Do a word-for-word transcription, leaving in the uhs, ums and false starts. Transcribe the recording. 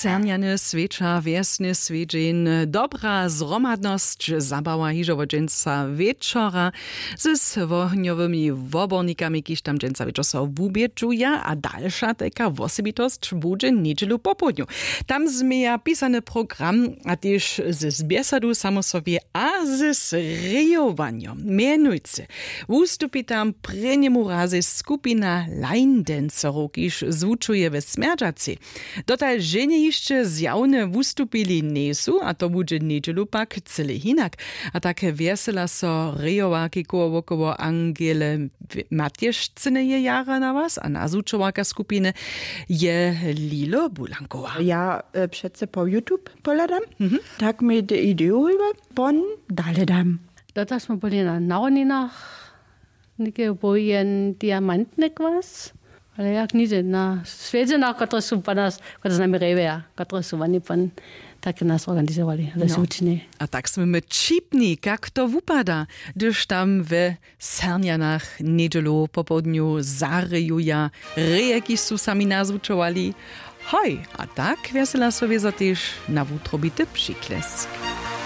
Cernjany swěčar, wjesny swjedźeń, dobra zhromadnosć zabawa hižo wot dźensa wječora z wohnjowymi wobornikami, kiž tam dźensa wječor so wubědźuja, a dalša tajka wosebitosć budźe njedźelu popołdnju. Tam změja pisany program a tež z bjesadu samo sobie a z rejowanjom. Mjenujcy wustupi tam prěnjemu razej skupina line dancerow, kiž zwučuje we smjerdźacej. Dotal ženje hišće zjawne wustupili njejsu, a to budźe njedźelu pak cyle hinak. A tak wjesela so rejowarki koło wokoło Angele Matješcyneje jara na was, a nazwučowarka skupiny je Lilo Bulankowa. Ja e, přece po YouTube pohladam, tak mi te ideju hojba pon dale dam. Dotal smo byli na narodninach, něke był jen diamantny kwas, ale jak nigdźe na swjedźenach, kotrež su po nas, kotrež z nami rejweja, kotrež su woni pon, tak nas organizowali, ale No. su učinili. A tak smy my ćipni, kak to wupada, hdyž tam we Sernjanach njedźelu popołdnju zarejuja reje, kiž su sami nazwučowali. Hoj, a tak wjesela so wězo tež na wutrobity přiklesk.